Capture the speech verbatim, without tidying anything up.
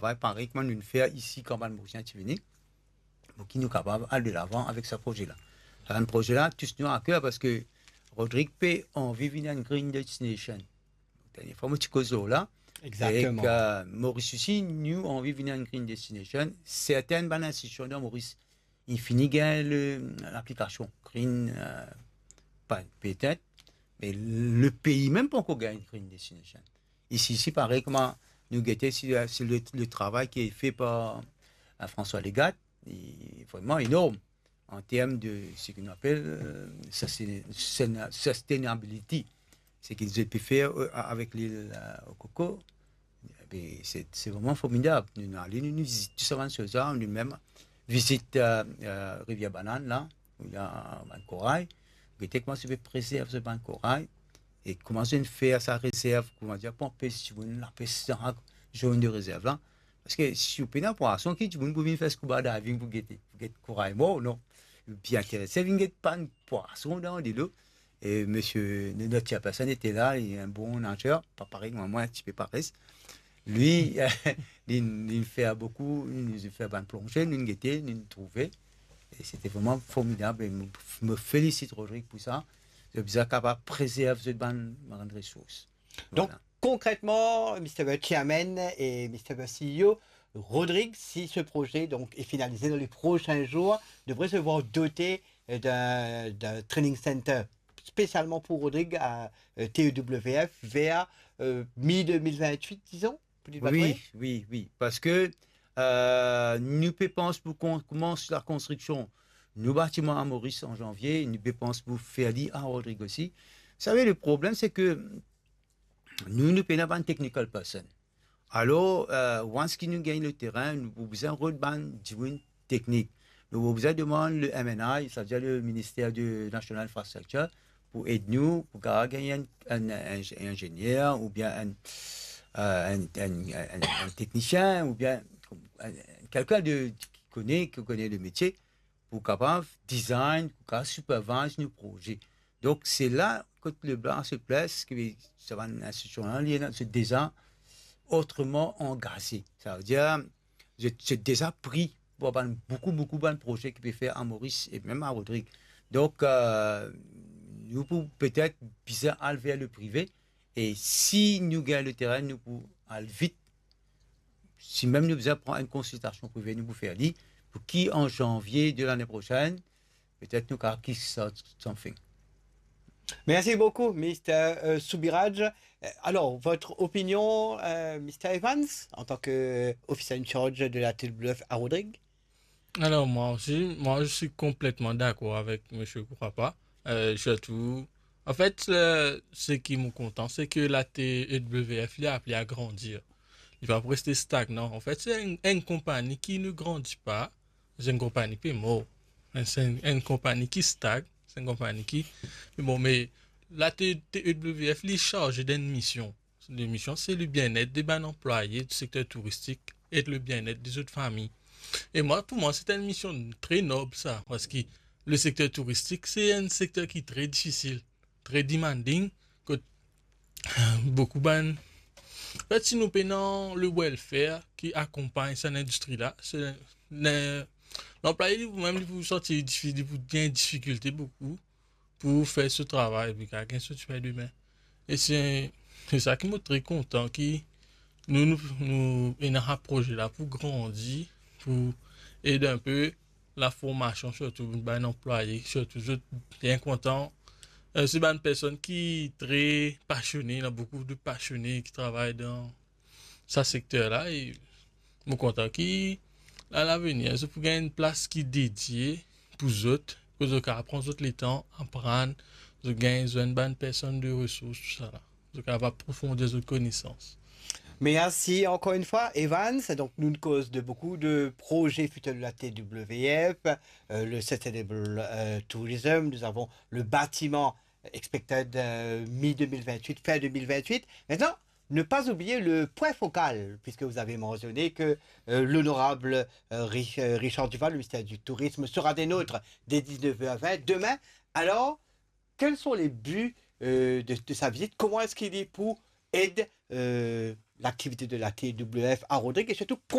travay parey kouma nou fer isi kan bann Morisien ti vini, pou ki nou kapav al delavan avek sa proze la. Sa bann proze la tous nou a ker, parski Rodrig pe anvi vinn enn green destination. Dernie fwa mo ti koz lor la, Exactement. Ek, euh, Moris osi, nou anvi vinn enn green destination. Sertin bann institision dan Moris, inn fini gagn le, laplikasion green, euh, pa, petet, me lepei mem pankor gagn green destination. Isi, isi parey kouma nou gete, si, si le, le travay ki fer par, euh, François Legatte, li vreman enorm an term de seki nou apel, euh, sustain-, sustain-, sustainability, seki zot pe fer, euh, avek lil, euh, koko. Be, se, se vreman formidab. Nou, nou ale, nou, nou vizit tou sa bann soz la, nou mem vizit, euh, euh, Rivier Banane la, ou ena bann koray. Gete kouma zot pe prezerv zot bann koray, e kouma zot inn fer sa rezerv, koumadir, pou anpes dimoun lapes dan zone de rezerv la. Parski si ou pena pwason, ki dimoun pou vinn fer scuba diving pou gete, pou get koray mor, non. Li pli interese vinn get bann pwason dan delo. E misie, no-, notre chairperson ete la, li enn bon nazer, pa parey mwa, mwa enn tipe pares. Li, li, li fer boukou, li fer bann plonze, nou gete, nou trouve. E sete vreman formidab. E mo, mo felisit Rodrig pou sa. Zot bizin kapav prezerv zot bann, bann resours. Donc, Voilà. Concrètement, Mister Chairman et Mister C E O, Rodrig, si ce projet donc est finalisé dans les prochains jours, devrait se voir doté, euh, d'un, d'un training center spécialement pour Rodrig à, euh, T E W F vers, euh, mi deux mille vingt-huit, disons, pou dir pa tro. Wi, wi, wi. Parski, euh, nou pe pans pou kon-, koumans lakonstriksion nou batiman a Moris an zanvie, nou pe pans pou fer li a Rodrig osi. Sav, le problem, se ke nou, nou pena bann technical person. Alor, euh, once ki nou gagn le terin, nou pou bizin rod bann dimoun teknik. Nou pou bizin demann le M N I, savedir le Ministère de National Infrastructure, pou ed nou, pou kapav gagn enn, enn, enn, enn inzenier, oubien enn, euh, enn, enn, enn, enn teknisien, oubien enn, enn, kelkenn de, ki kone, ki kone le metie, pou kapav design, pou kapav supervise nou proze. Donk, se la kot le bla se pes, ki sa bann institision la, li ena, se deza otreman angaze. Savedir, se, se deza pre pou bann, boukou, boukou bann proze ki pe fer a Moris e mem a Rodrig. Donk, euh, nou pou petet bizin al ver le prive, e si nou gagn le terin, nou pou al vit. Si mem nou bizin pran enn konsiltasion prive, nou pou fer li, pou ki an zanvie de lane prosenn, petet nou kapav kickstart something. Merci beaucoup, Mister, euh, Soubiraj. Euh, alors, votre opinion, euh, Mister Evans, en tant que officer in charge de la T W F à Rodrigues ? Alors, moi aussi, moi, je suis complètement d'accord avec Monsieur Kourapa. Euh, surtout, en fait, euh, ce qui me content, c'est que la T E W F, li apel a grandir. Li pa pou reste stagnan. En fait, c'est une, une compagnie qui ne grandit pas. C'est une compagnie qui est morte. C'est une, une compagnie qui stagne. C'est une compagnie qui, mais bon, mais la T-, T E W F, li charge d'une mission. Lemision, se le bien-être de bann anplwaye di sekter touristik e le bien-être de zot fami. E mwa, pou mwa, se enn mision tre nob sa, parski le sekter touristik, se enn sekter ki tre difisil, tre demanding, kot boukou bann, anfet, si nou pena le welfare ki akonpagn sa lindistri la, se, le, lanplwaye li pou mem, li pou santi difi-, li pou gagn difikilte boukou pou fer so travay, pou gagn so dipin demin. E se, se sa ki mo tre kontan ki nou, nou, nou ena sa proze la pou grandi, pou ed inpe laformasion, sirtou bann anplwaye, sirtou zot bien kontan. Euh, se bann personn ki tre pasione, ena boukou de pasione ki travay dan sa sekter la, e mo kontan ki, a lavenir, zot pou gagn enn plas ki dedie pou zot, pou zot kapav pran zot letan, aprann, zot gagn zwenn bann personn de resours, tousala. Zot kapav aprofonder zot konesans. Merci encore une fois, Evans. Donc, nous causons de beaucoup de projets futurs de la T W F, euh, le Sustainable, euh, Tourism. Nous avons le bâtiment expected, euh, mi deux mille vingt-huit, fin deux mille vingt-huit. Maintenant, ne pas oublier le point focal, puisque vous avez mentionné que, euh, l'honorable, euh, Rich-, euh, Richard Duval, le ministre du Tourisme, sera des nôtres dès dix-neuf heures vingt demain. Alors, quels sont les buts, euh, de, de sa visite ? Comment est-ce qu'il est pour aider, euh, l'activité de la T W F à Rodrigues et surtout